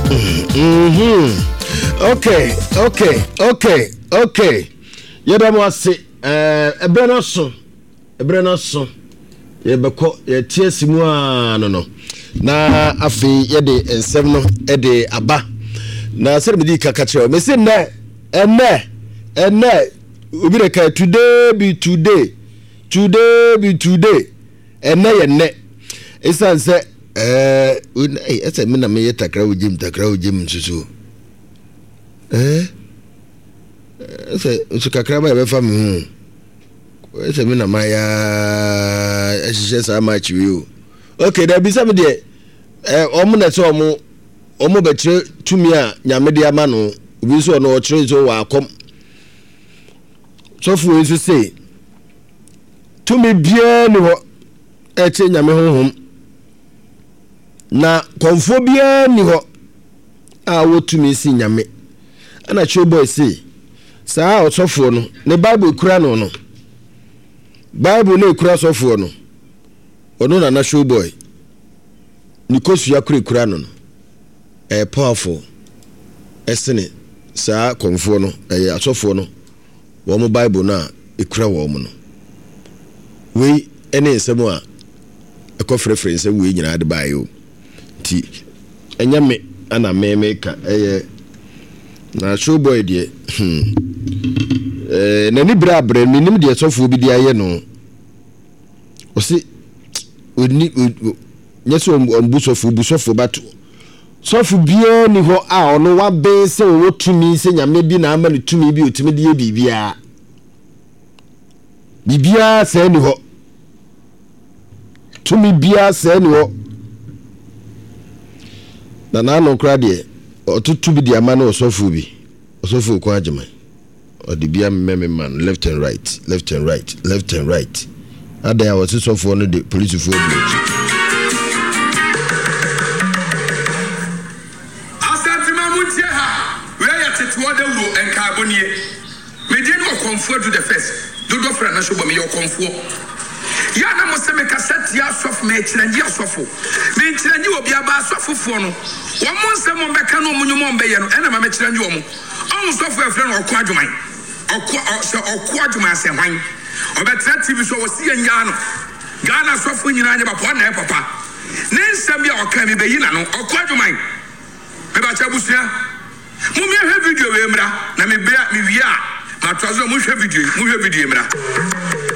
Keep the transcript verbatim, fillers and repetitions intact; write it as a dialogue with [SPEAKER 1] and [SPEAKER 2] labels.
[SPEAKER 1] Mm-hmm. Okay, okay, okay, okay. Yɛda mo ase. Ɛberɛ no aso. Ɛberɛ no aso. Yɛbɛkɔ yɛte asi mu a no no. Na afei yɛde nsɛm no de aba. Na sɛde mede kaka kyerɛ wo. Mese nnɛ, ɛnnɛ, ɛnnɛ, obi de ka today be today. Today be today. Ɛnnɛ yɛ nnɛ. Ɛsiane sɛ ɛɛ ɛsɛ me na meyɛ takra wo gyem takra wo gyem nso so. Ɛɛ ɛsɛ nso kakra ba yɛbɛfa me ho. Ɛsɛ me na mayɛ ɛhyehyɛ saa match wei o. Okay, dabi sɛ me deɛ ɛɛ wɔn na ɛsɛ wɔn wɔn bɛkyerɛ tumi a Nyame de ama no. Obi nso ɔno ɔkyerɛ nso wɔ akɔm. Sɔfo wei nso se tumi biara ni hɔ ɛkyɛ Nyame honhom. Na kɔmfoɔ biara ni hɔ a ɔwɔ tumi si Nyame. Ɛna Showboy se saa ɔsɔfoɔ no ne Bible kura no no Bible no ekura sɔfoɔ no ɔno nana Showboy ne kosua kura ekura no no ɛyɛ powerful ɛsene saa kɔmfoɔ no ɛyɛ asɔfoɔ no wɔn Bible no a ekura wɔn no. Wei ne nsɛm a ɛkɔ frɛfrɛ nsɛm wei nyinaa de baeɛ o. Nti ɛnyɛ me ana me meka ɛyɛ na Showboy deɛ hmm ɛɛ n'ani bere abrɛ menim deɛ sɔfoɔ bi de ayɛ no. Ɔse ɔni nyɛ sɛ ɔmbu sɔfoɔ bu sɔfoɔ but sɔfo biara ni hɔ a ɔno waben sɛ ɔwɔ tumi sɛ Nyame bi na ama no tumi bi ɔtumi de yɛ biribiara. Biribiara sɛɛ ni hɔ. Tumi biara sɛɛ ni hɔ. Na n'ano koraa deɛ ɔtoto bi de ama no ɔsɔfo bi, ɔsɔfo Okon Agyeman. Ɔde bi amemɛ me ma no left and right, left and right, left and right. Adan a wɔse sɔfoɔ no de polisifoɔ di akyi.
[SPEAKER 2] Asantema montie ha, wei yɛ teteɔ dawuro nkaebɔ nie. Me din ne Ɔkɔmfoɔ Adu the first, dodoɔ frɛ no Showboy, meyɛ Ɔkɔmfoɔ. Yɛ a na mo se me kasa tia asɔfo, me kyerɛngye asɔfo, me nkyerɛngye obiara, but asɔfofoɔ no, wɔn nsɛm wɔn bɛka ne wɔn nnwuma wɔn bɛyɛ no, ɛna ma me kyerɛngye wɔn. Ɔho sɔfo a yɛfrɛ no Ɔko Adwoman, Ɔko, ɔ, sɛ Ɔko Adwoman sɛ hwan? Ɔbɛtena T V so, ɔse yɛn nyaa no. Ghana asɔfo nyinaa nyɛ papa, ɔno na ɛyɛ papa. Ne nsɛm bi a ɔka, me bɛyi n'ano. Ɔko Adwoman, mebakyɛ abusua. Mommie hwɛ video wei mmra na me bere a me wie a matoa so na monhwɛ video yi, monhwɛ video yi mmra.